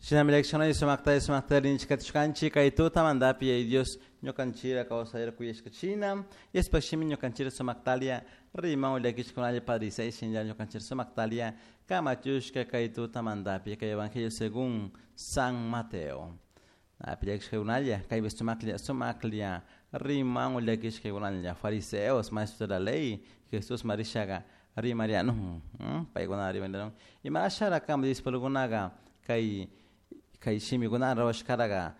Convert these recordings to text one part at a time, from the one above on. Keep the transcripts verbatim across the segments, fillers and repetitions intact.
Shinami leccionay sumakta sumakta rinchikatishkanchik kay tutamantapi yaya Dios ñukanchira kawsayra kuyashkachina yashpashimi ñukanchira sumaktalia riman llakishkunalla Padre shinlla ñukanchira sumaktalia kamachushka kay tutamantapi kay Evangelio según San Mateo. Napi llakishkakunalla kaypi sumaklla sumaklla riman llakishkakunalla fariseos maestros de la ley Jesús marishaga rimarianun paykuna rimarianun imashara kama discípulokunaga kay kay shimikuna rawashkaraga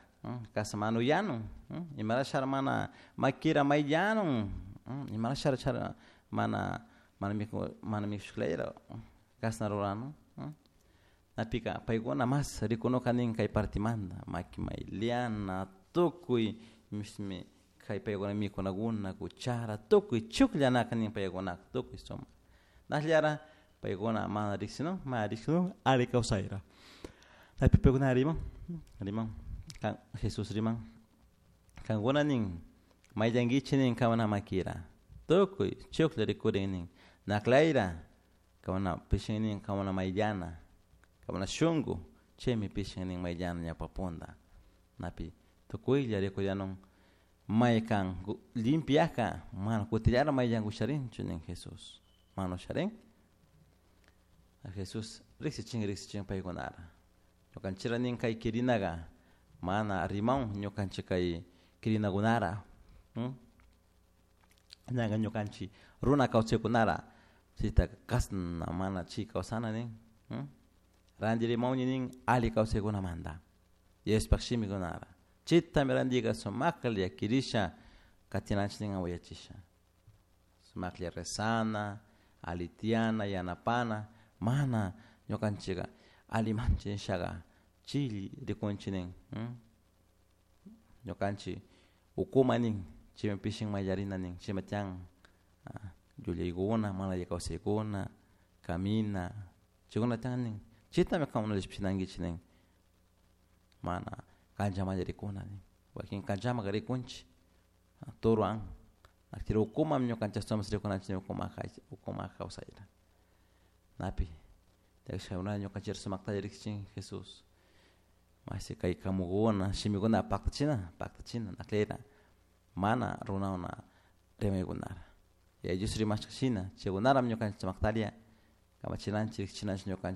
kasamanu yanun imarashara mana makira mayllanun imarashara chara mana mana miku mana mikushklayra kasna ruranun napika paykuna mas rikunuka nin kay partimanta maki mayllana tukuy mishmi kay paykuna mikunakuna cuchara tukuy chukllanaka nin paykunaka tukuy sumak nashllara paykuna mana riksinun mana riksinun alli kawsayra napi paykuna riman riman kan Jesús riman kankuna nin mayllankichik nin kankuna makira tukuy chuklla rikurin nin naklayra kankuna pishin nin kankuna mayllana kankuna shunku chaymi pishin nin mayllana ñawpapunta napi tukuylla rikurianun maykan limpiaka mana kutillara mayllanka usharinchu nin Jesús mana usharin Jesús riksichin riksichin paykunara ñukanchikra nin kay kirinaga mana rimawan ñukanchik kay kirinakunara ñaka ñukanchik runa kawsaykunara chaytaka kashna mana chay kawsana nin ranti rimawni nin alli kawsaykunamanta Diospaj shimikunara chaytami rantika sumaklla kirisha katinanchik nin yachasha sumaklla rezana alli tiyana yanapana mana ñukanchika allimanchik nishaka chay rikunchik nin ñukanchik ukuma nin chaymi pishin mayllarina nin chaymi tiyan llullaykuna mana alli kawsaykuna kamina chaykuna tiyan nin chaytami kankuna llashpichinankichik nin mana kanchamalla rikuna nin wakin kanchamaka rikunchik turuwan ukumami ñukanchik ashtawanpish rikunanchik ukuma ukuma kawsayta napi ñukanchik sumaktalla riksichin Jesús mashi kay kamukuna shimikuna paktachina paktachina naklera mana runakuna rimaykunara Yaya Dios rimashka shina chaykunarami ñukanchik sumaktalla kamachinanchik riksichinanchik ñukanchik.